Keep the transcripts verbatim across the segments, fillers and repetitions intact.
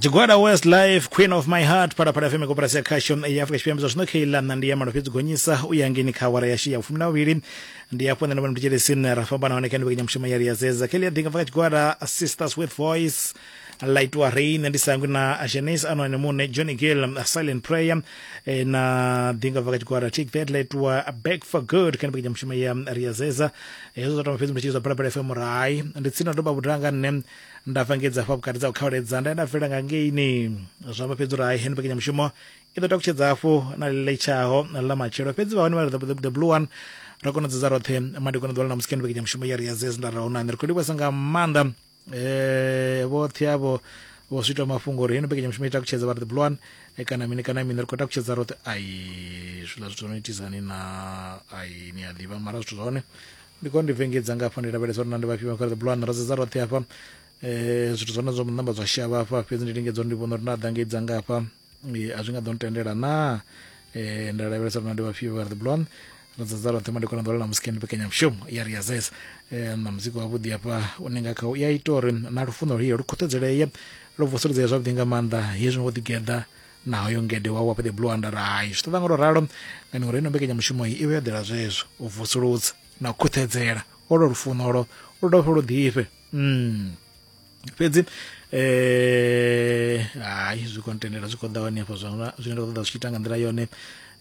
Tshigwada West Life, Queen of My Heart, Phalaphala F M koporasi ya khasho ya Afrika Tshipembe. Zwa zwino kheila nṋa ndi ya malo fhedzi gonyisa u ya ngeni kha awara yashu ya fumi na vhuvhili. Ndi hafho nṋe na vhone mthetshelesi ra fhambana hone kha mbekanyamushumo ya Ri a Zeza. Kheila ya ḓinga bva kha tshigwada Sisters with Voice Laitwa Rain, ndi sangwi na Janice Anone Mune, Johnny Gill Silent Prayer, eh, na ḓinga bva kha tshigwada Take That Laitwa Back for Good kha mbekanyamushumo ya Ri a Zeza. Hezwo zwa tama fhedzi mthetshelesi wa Phalaphala F M rai ndi tsini na doba vhudanga nṋe nda fangedza hafha vhukati dza u khauledza nda nda bvela nga ngeini zwa amba fhedzi uri hai heno mbekanyamushumo i ḓo takutshedza hafhu na ḽiletshaho ḽa matshelo. Fhedzi vha hone vha the, the blue one ra kona u dzedza roṱhe madekwana ḓuvha ḽa ṋamusi kha mbekanyamushumo ya Ri a Zeza. Nda ra huna ri khou livhuwesa nga maanḓa eh vhoṱhe avho vho switwa mafhungo uri heno mbekanyamushumo i takutshedza vha ri the blue one kana mini kana mini ri khou takutshedza roṱhe. Ai zwiḽa zwithu zwo no itisani na ai ni a ḓivha mara zwithu zwa hone ndi kone ndi vengedza nga hafha ndi lavhelesa uri na ndi vhafhio vha the blue one ra dzedza roṱhe hafha. Eh zwithu zwone zwo namba zwa shavha hafha fhedzi ndi lingedza uri ndi vhona uri nda ḓa ngei nga hafha a zwi nga ḓo ntendela na eh nda lavhelesa uri na ndi vhafhio vha the blue one ra dzedza roṱhe madekwana ḓuvha ḽa ṋamusi kha mbekanyamushumo ya Ri a Zeza. Eh na muzika wavhuḓi hafha une nga kha ya ita uri na lufuno lwo lu khuthazeleye lu vusuledzee zwavhuḓi nga maanḓa hezwi wo ḓigeḓa na hoyo ngede wa wa the blue one. Nda ri hai zwi ṱoḓa nga ro ralo ngani uri ino mbekanyamushumo iyi i vhe yo ḓela zwezwo u vusuludza na u khuthedzela olo lufuno olo lu dovhe lu ḓifhe. Mm. Fhedzi eh hai zwi khou ntendela zwi khou ḓa hone hafha zwa zwine nda ṱoḓa zwi tshi ita nga nḓila yone.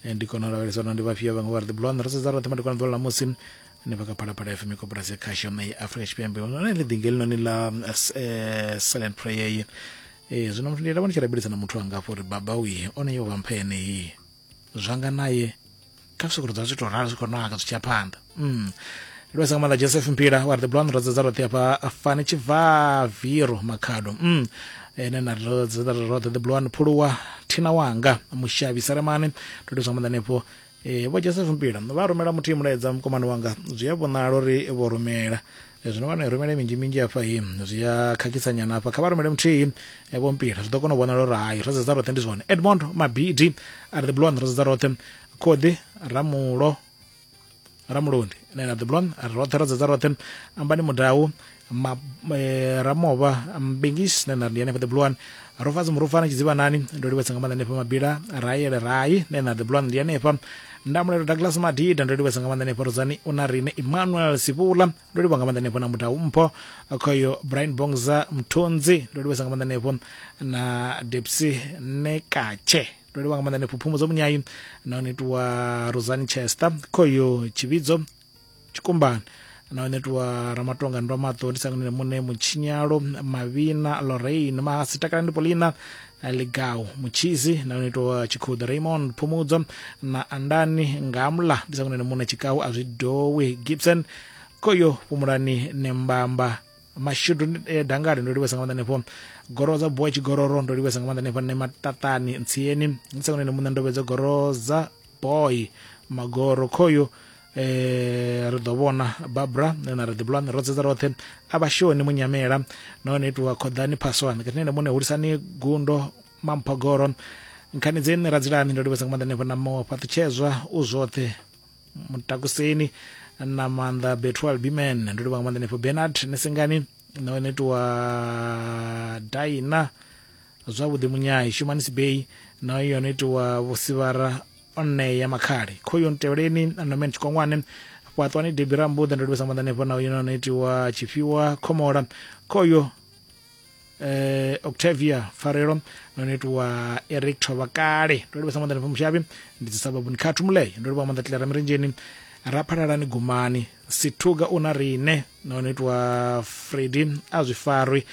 Ndi kona u lavhelesa uri ndi vhafhio vhaṅwe vha ri the blue one ro sedza roṱhe madekwana ḓuvha ḽa ṋamusi ni bva kha Phalaphala F M koporasi ya khasho ya Afrika Tshipembe. Hone ḽi ḓinge ḽinoni ḽa Silent Prayer eh zwino muthu ndi lavha ndi tshi rabelisa na muthu wanga afho uri baba uyi one yo vha mpha yeneyi zwanga naye kha zwi sokou zwi tou ralo zwi khou naka zwi tshi ya phanḓa. Mm. Lwesa nga maanḓa Joseph Mpila wa the blue one ro dzedza roṱhe hafha Fani Tshivaviro Makhado. Mm. Ene na ro dzedza roṱhe the blue one Phuluwa Thina wanga Mushavhi Saramani ndo livhuwa nga maanḓa hanefho. Eh vho Joseph Mpila vha rumela muthu mulaedza mukomano wanga zwi a vhonala uri vho rumela zwino vha no rumela minzhi minzhi hafha hi zwi a khakhisa nyana hafha kha vha rumele muthihi vho Mpila zwi ḓo kona u vhonala uri hai ro dzedza roṱhe ndi zwone. Edmond Mabidi a ri the blue one ro dzedza roṱhe Khoḓi Ramulo Ramulondi na the blue one roṱhe ro dzedza roṱhe Ambani Mudau ma, eh, Ramovha Mbingis na ndi hanefha the blue one Rofadzi Murufana Tshidzivhanani ndo livhuwesa nga maanḓa hanefha Mabila Raele Rai na the blue one ndi hanefha Ndamulelo Douglas Madida ndo livhuwesa nga maanḓa hanefha Rodzani una rine Emmanuel Sivula ndo livhuwa nga maanḓa hanefha na Mudau Mpho Khoyo Brian Bongza Mthunzi ndo livhuwesa nga maanḓa hanefho na Depsi Nekache ndo livhuwa nga maanḓa hanefho Phumudzo Munyayi na onetwa Rosani Chester Khoyo Tshivhidzo Tshikumbani na onetwa Ramatonga ndo maṱo ndi sangane mune Mutshinyalo Mavhina Lorraine Mahasi Takalani Polina Ligau Mutshizi na onetwa Tshikhuḓa Raymond Phumudzo na Andani Ngamla ndi sangane mune Tshikau a zwi dowi Gibson Khoyo Fhumulani Nembamba Mashudu eh, Dangari ndo livhuwesa nga maanḓa hanefho Goroza Boy Tshigororo ndo livhuwesa nga maanḓa hanefho ne Matatani Ntsieni ndi sangane mune Ndovhedzo Goroza Boy Magoro Khoyo eh ri ḓo vhona Barbara na ri the blue one ro dzedza roṱhe a vhashoni Munyamela nahone itiwa Khoḓani Phaswana katine mune Hulisani Gundo Mamphogoro nkhani dzeni Radzilani ndo livhuwesa nga maanḓa hanefho na mo Fhaṱutshedzwa u zwoṱhe Mutakuseni na maanḓa Bethuel Biman ndo livhuwa nga maanḓa hanefho Bernard Nesengani nahone itiwa Daina Zwavhuḓi Munyai Shumani Sibei na yone itiwa Vhusivhara Oneya Makhali Khoyo Ntevheleni Nomen Tshikongwane Fhaṱwani Debi Rambuḓa ndo livhuwesa nga maanḓa hanefho na yone itiwa Tshifhiwa Khomola Khoyo eh Octavia Farelo no itiwa Eric Thovhakale ndo livhuwesa nga maanḓa hanefho Mushavhi ndi dzisababuni Khathu Mulei ndo livhuwa nga maanḓa Tlera Mirenjeni Raphalalani Gumani Sithuga una rine no itiwa Freddy a zwi farwi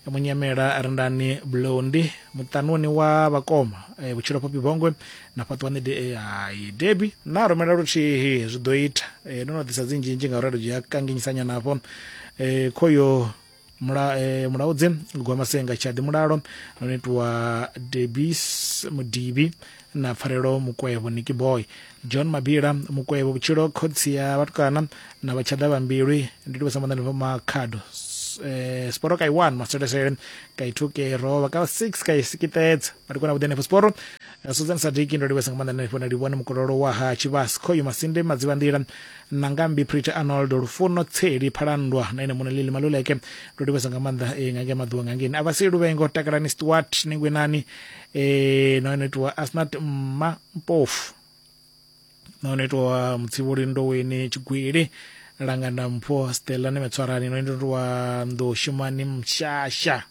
Munyamela Rendani Blondi muṱanuni wa vhakoma e, Vhutshilo Popi Bongwe na Fhaṱwani de, ai Debi na rumela luthihi zwi ḓo ita e, ndo no ḓisa dzinzhinzhi ngauri ri dzhia kanginyisanya nafho e, khoyo mula e, mulaudzi Gwamasenga Tshaḓi Mulalo no itiwa Debis Mudibi na Pfarelo Mukwevho Nicky Boy John Mabila Mukwevho Vhutshilo Khotsi ya vhatukana na Vhatshaḓa vha Mbilwi ndi livhuwesa nga maanḓa Makhado eh, Sporo ka i one maselesele ka i two ke rova ka six ka isikitedza mari kona vhuḓi henefho Sporo. Susan Sadiki ndo livhesa nga maanḓa henefho na livhone mukololo wa ha Tshivhasi Khoyu Masinde Madziva Nḓila na Ngambi Prita Arnold Lufuno Tseli Phalandwa na ene muṋe Lili Maluleke ndo livhesa nga maanḓa eh, nga ngei maḓuvha nga ngeni avha si Luvengo Takalani Stuart Ningwenani eh, na ene itiwa Asnat Mma Mpofu na ene itiwa Mutsivhuli Ndoweni Tshigwili Langana Mpho Stella Nemetswarani no ene itiwa Ndoshumani Mshasha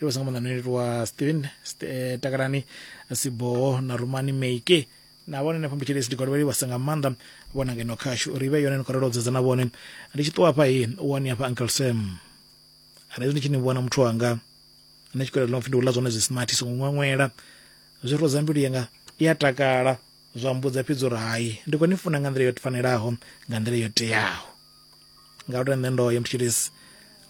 livhesa nga maanḓa no itiwa Steven St eh, Takalani Siboho na Rumani Meike na vhone henefho mbutshilisi ndi khou livhasa nga maanḓa vhona ngeno khashu ri vhe yone ni khou relo na vhone. Ndi tshi ṱuwa hafha i u wani hafha Uncle Sam arali ndi tshi ni vhona muthu wanga nṋe tshikwela ḽo pfi ndi u ḽa zwone zwi smart songo ṅweṅwela zwi rodza mbilu yanga i a takala zwa mbudza fhedzi uri hai ndi khou ni funa nga nḓila yo fanelaho nga nḓila yo teaho ngauri nṋe ndo ya mutshilisi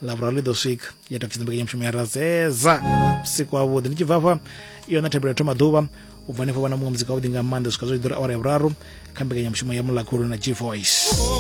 ḽavhuraru ḽi ḓo swika ya takutshedza mbekanyamushumo ya razeza vhusiku havhuḓi. Ndi tshi bva hafha iyo na thabelo ya thoma ḓuvha u bva hanefho vhana muṅwe muzika wavhuḓi nga maanḓa swika zwo ḓura awara ya vhuraru kha mbekanyamushumo ya Mulakhulu na G Voice.